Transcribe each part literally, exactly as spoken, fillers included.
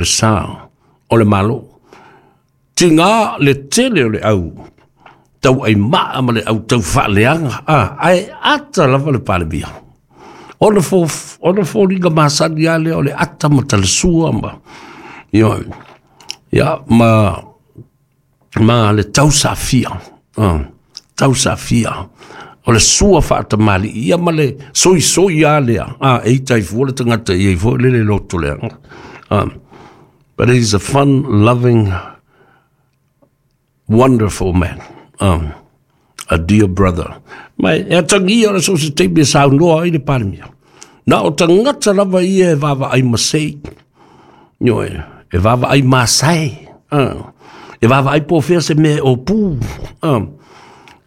Le sa o le Malo. Tiga le tele o le au tau ai maa ma le au tau faaleaga, a ae ata lava le Palemia. Ona fo, ona foliga masani lava lea o le ata ma talasua ma, ioe, ia, ma, ma le tausafia, uh, tausafia o le sua faatamalii ia ma le soisoi lava lea, a e ita ai fua le tagata i ai foi le le loto leaga. Um, but he's a fun loving, wonderful man, um, a dear brother. Ma e atagia o le so se taimi e saunoa ai le Palemia. Na o tagata lava ia e vaavaai masei, ioe, e vaavaai masae, uh, e vaavaai po o fea se mea e opu, uh,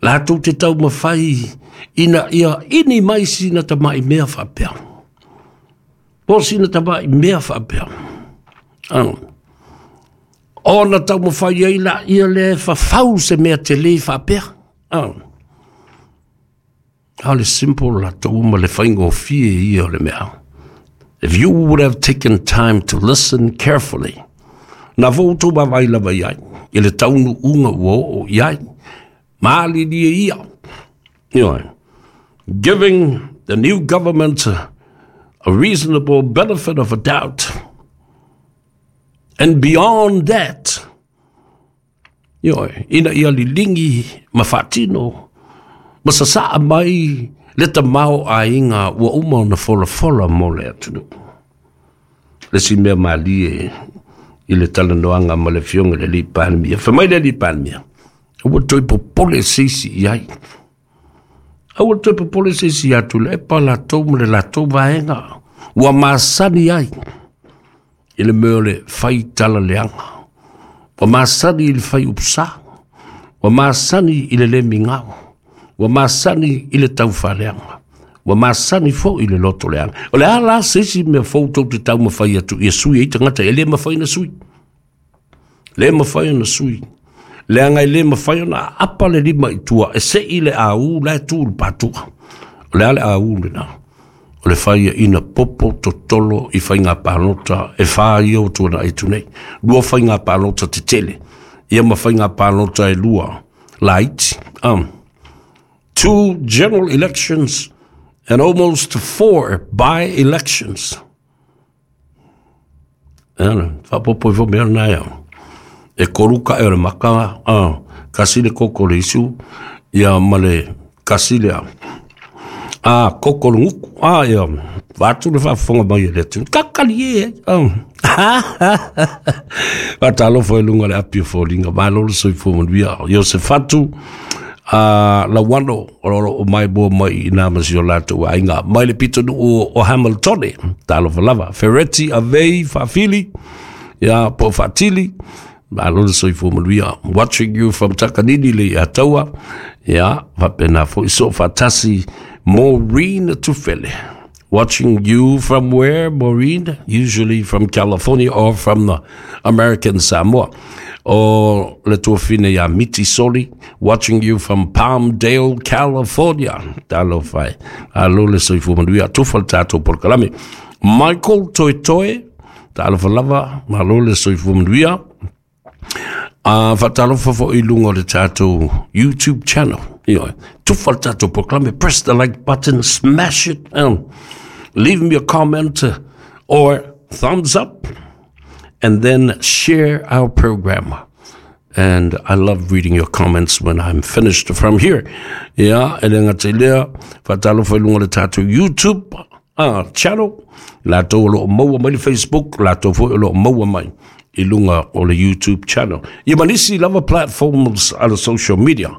latou te taumafai ina ia ini mai sina tamai mea faapea. Po sina tamai mea faapea. Uh. Ona taumafai ai laia lea e fafau se mea tele faapea. Uh. A o le simple latou ma le faigofie ia o le mea. If you would have taken time to listen carefully, na foi outou vaavaai lava i ai, i le taunuuga ua oo i ai, malilie ia. Ioe. Giving the new government a reasonable benefit of a doubt. And beyond that, ioe, ina ia liligi ma faatino, ma sasaa mai le tamaoaiga ua uma ona folafola mo le atunuu. Le isi mea malie i le talanoaga ma le Afioga i le alii Palemia. Fai mai le alii Palemia, aua le toe popole se isi i ai. Aua le toe popole se isi ia Tuilaepa latou ma le latou vaega ua masani ai i le mea o le fai tala leaga. Ua masani i le fai upusa. Ua masani i le le migao. Ua masani i le taufaaleaga. Ua masani foi i le loto leaga. O le a la se isi mea fou tou te taumafai atu ia sui ai tagata? E le mafai ona sui. Le mafai ona sui. Leaga e le mafai ona aapa le lima i tua e sei le au la e tu i le patua. O le a le au lena? O le faiaina popo totolo i faiga palota e fa ia o tuanai atu nei. Lua faiga palota tetele. Ia ma faiga palota e lua laiti. Um, two general elections and almost four by-elections. Ana, faapopo i fo mea na ia. E kolu kae o le maka, uh, kasi le koko le isu, ia ma le kasi le a. A, koko le guku, a, ia, vaeatu le faafofoga mai a le atunuu. Kakali e, um. Faatalofa i luga o le api o foliga, malo le soifua manuia. Iosefatu, a Lauano, o lo o mai mua mai i nā ma si o latou aiga mai le pitonuu o Hamiltone, talofa lava. Fereti Avei Faafili, ia po o Faatili, malo le soifua manuia. Watching you from Takanini le Ataua, ia, faapena foi soo faatasi Maureen Tufele. Watching you from where, Maureen? Usually from California or from the American Samoa. O le tuafine ia Miti Soli, watching you from Palmdale, California. Talofa e. Malo le soifua manuia. Tufa le tatou polokalame. Michael Toetoe, talofa lava, malo le soifua manuia. A faatalofa foi i luga o le tatou YouTube channel. Ioe. Tufa le tatou polokalame, press the like button, smash it, and leave me a comment or thumbs up, and then share our program. And I love reading your comments when I'm finished from here. Ia, e le gata i lea, faatalofa i luga o le tatou YouTube uh, channel, latou o lo o maua mai le Facebook, latou foi o lo o maua mai i luga o le YouTube channel. Ia ma nisi lava platforms a le social media.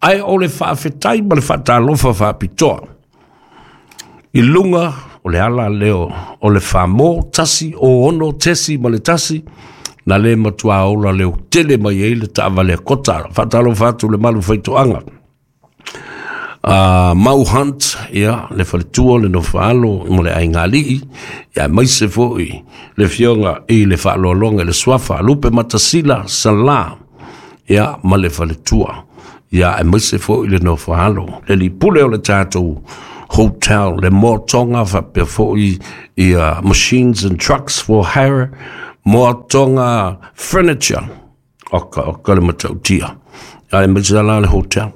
Ae o le faafetai ma le faatalofa faapitoa i luga o le ala leo o le famo tasi o ono tesi ma le tasi, na le matua ola leo tele mai ai le taavale a Kota. Faatalofa atu le malu faitoaga. Uh, Mau Hunt, ia, le faletua, le nofoalo, mo le aigalii, ia, maise foi le fioga i le faaloaloga i le suafa, Lupe Matasila, Sala, ia, ma le faletua, ia, aemaise foi le nofoalo, le lipule o le tatou hotel, le motoga faapea foi ia machines and trucks for hire, Moatonga Furniture. Oka, oka le matautia. Ale maisala le hotel.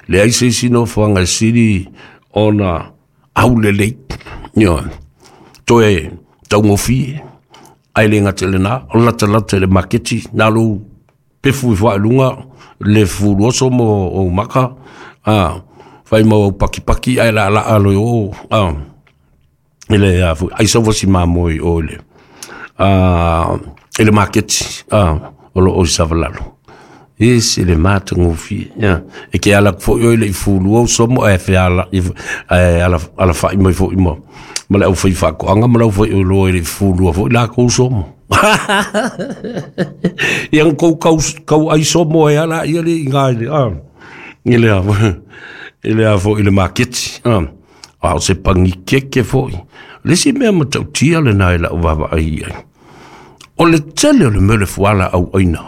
Le ai se isi nofoaga e sili ona aulelei. Ioe. Toe taugofie. Ai le gata i lena, o latalata i le maketi, na lou pefu i faailuga, le fuluoso mo ou maka, a, fai mau au pakipaki, ai la la alo i o, a, i le, a, foi, ai sauva si mamoe i o i le, a, i le maketi, a, o lo o i Savalalo. Ese le matagofie, ia. E ke ala foi oi le i fulu au somo, ae fe ala, i, ae ala, ala fai mai foi ma, ma le au fai whakoanga, ma le au fai oloa i le fulua foi la kou somo. Ia kou kau, kau ai somo e ala ia le inga i le, ah, i le a, i le a foi i le maketi, ah. A o se pangikeke foi. Le si mea matautia le nai lau vava ai ai. O le tele o le mea le fuala au aina.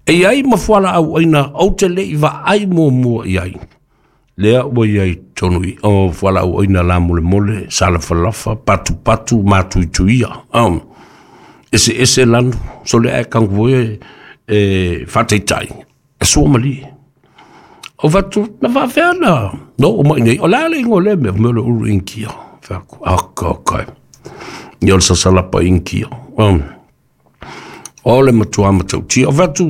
E ai ma fuala au aina, au te le i va ai mua mua i ai. Lea ua iai tonu i o fuala au aina la mole mole, salafalafa, patu patu, matuituia. Um, ese ese lanu, so le ae kangu e, e whateitai, e sua mali. O whatu, na whawhea na, no o mai nei, o la le ingo le mea, mea le uru inkia. Whaku, aka, aka. Ia o le sasalapa inkia. Um, o le matua matautia. O whatu,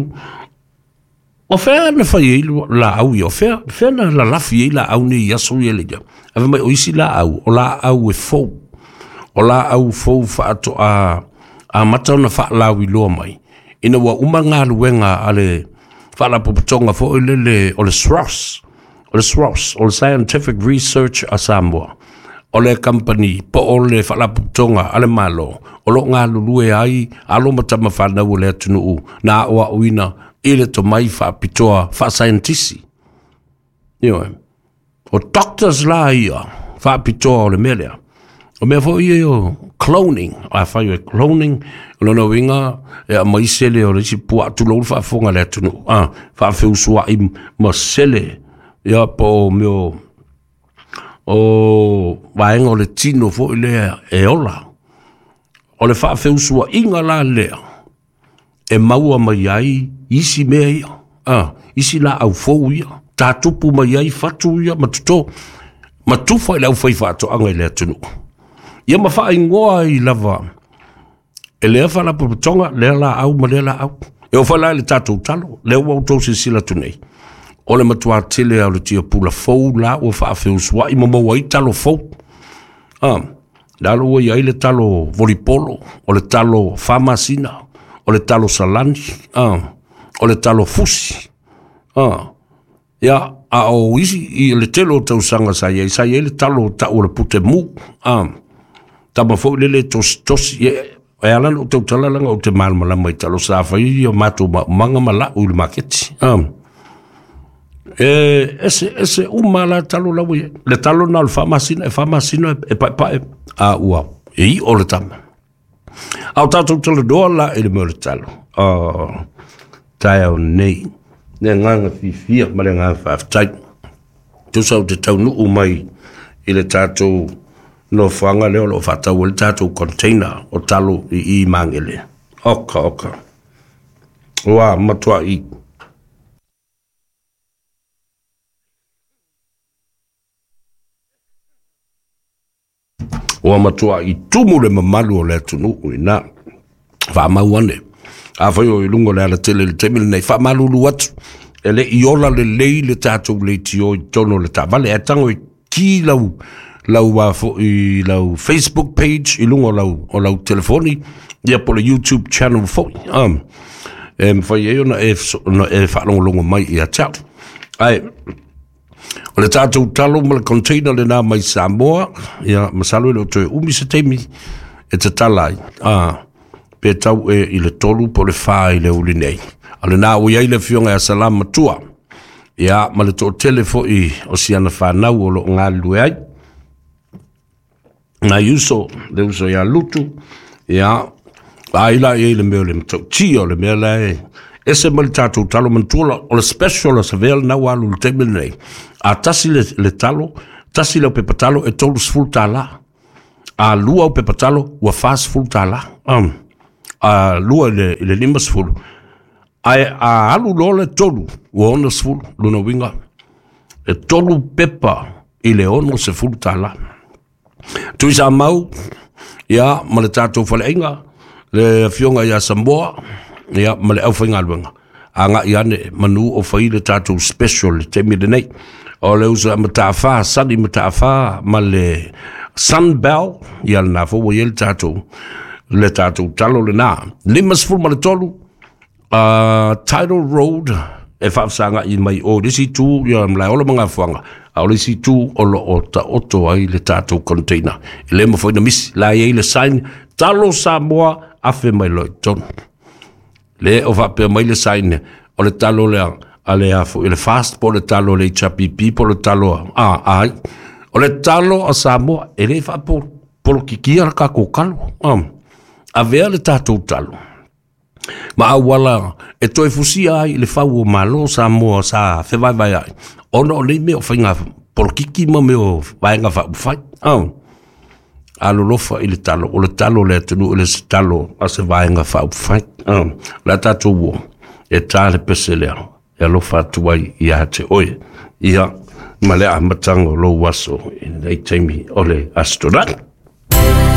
o whea na whai ei la au ia, o whea, whea na lalafi ei la au ni i aso ia le ia. Awe mai o isi la au, o la au e fou. O la au fou whaato a, a mata ona whaalawi loa mai. Ina ua uma ngā luenga a le whaalapopotonga fo i lele o le S R O S. O le S R O S, o le Scientific Research a Samoa. O le company, po o le whaalapopotonga a le malo. O lo ngā lulue ai, alo matama whanau o le atunuu, nā oa uina, i le tomai whaapitoa, wha-scientisi. Ioe. O doctors la ia, whaapitoa o le melea. O mea fo ia o cloning, a whai o cloning, o lona winga, e a maisele o le isi pua atu loulu whaafonga le atunuu. Ah, whaafeusua i masele, ia po o meo, o vaenga o le tino fo i lea e ola. O le whaafeusua inga la lea, e maua mai ai isi mea ia, ah, isi la au fou ia, tātupu mai ai whatu ia, matuto, matufa i le au whai whaatoanga i le atunuu. Ia ma whaingoa i lava, e lea whalapopotonga, lea la au ma lea la au. E o whala le tātou talo, lea ua utau sisila tu nei. O le matua tele au le tia pula fou la ua whaafeusua i mamau ai talo fou. Ah, lalo ua iai le talo volipolo, o le talo whamasina, o le talo salani, ah, o le talo fusi. Ah, ia, a o isi i le telo o tausanga sa iai, sa iai le talo tau o le pute mu. Ah, tama fo lele tosi tosi, e, e ala no tau talalanga o te malamalama i talo sa whai o mātou ma manga ma lau i le maketi. Ah, e, ese, ese uma la talo lau ia. Le talo na o le whamasina, e whamasina e pae pae, a ua, e i o le tama. Au tātou talo doa la e le mea o le talo. Oh, tae au nei. Ne nganga fifia ma le nganga whaaftai. Tusa o te taunuu mai i le tātou no whanga leo lo whatau o le tātou container o talo i i mangele. Oka, oka. Oa, matua i. Oa matua i tumu le mamalu o le atunuu i nā. Whaamau ane. A whai o i lungo le ala tele le temile nei. Whaamalulu atu. E le i ola le lei le tātou le tio i tono le tāvale. E tango i ki lau, lau, a fo, i lau Facebook page i lungo lau, o lau telefoni. Ia po le YouTube channel foi. Um, e mwhai e ona e, ona e whaalongolongo mai i a tau. Ai, o le tātou talo ma le container le nā mai Samoa, ia masalo i le o toe umi se teimi e te tala ai. Ah, pe tau e i le tolu po le whā i le uli nei. A le nā ui ai le fionga a salama tua. Ia, ma le tō tele foi o siana whanau o lo ngā lue ai. Nā uso, le uso ia lutu. Ia, a ila i le mea o le matau tia o le mea la e. Ese ma le tātou talo mantua o le special o sa vea le nau alu le teimi nei. A tasi le, le talo, tasi le o pepatalo e tolu sefulu tālā. A lua o pepatalo ua wha sefulu tālā. Um, a lua i le, i le lima sefulu, ae a alu loa le tolu ua ono sefulu, lona uiga e tolu pepa i le ono sefulu tālā. Tuisamau, ia, ma le tatou faleaiga, le afioga ia Samoa, ia, ma le aufaigaluega, agai ane manu o fai le tatou special le taimi lenei. O le uso a Mataafa, Sani Mataafa ma le Sunbell, ia lena foi ua i ai le tatou le tatou talo lena. Lima sefulu ma le tolu, uh, Tidal Road, e faafesagai mai o le isi itu ia Malaeola ma Gafuaga, a o le isi itu o lo o taoto ai le tatou container. E le mafai ona misi, la e i ai le sign, Talo Samoa, afe mai loa i totonu. Le o faapea mai le sign, o le talo lea a le a foi, le fast po o le talo a le H P P po o le talo a, a ai. O le talo a Samoa, e le faapolokikia le tatou talo. Um, avea le tatou talo ma auala e toe fusia ai le fau o Malo Samoa sa fevaevae ai, ona o nei mea o faiga polokiki ma mea o vaega faaupufai. Um, alolofa i le talo, o le talo o le atunuu, e le se talo a se vaega faaupufai. Um, o le a tatou o, e tā le pese lea, e alofa atu ai ia te oe, ia, ma le amataga o lou aso i lenei taimi o le Aso Toonai.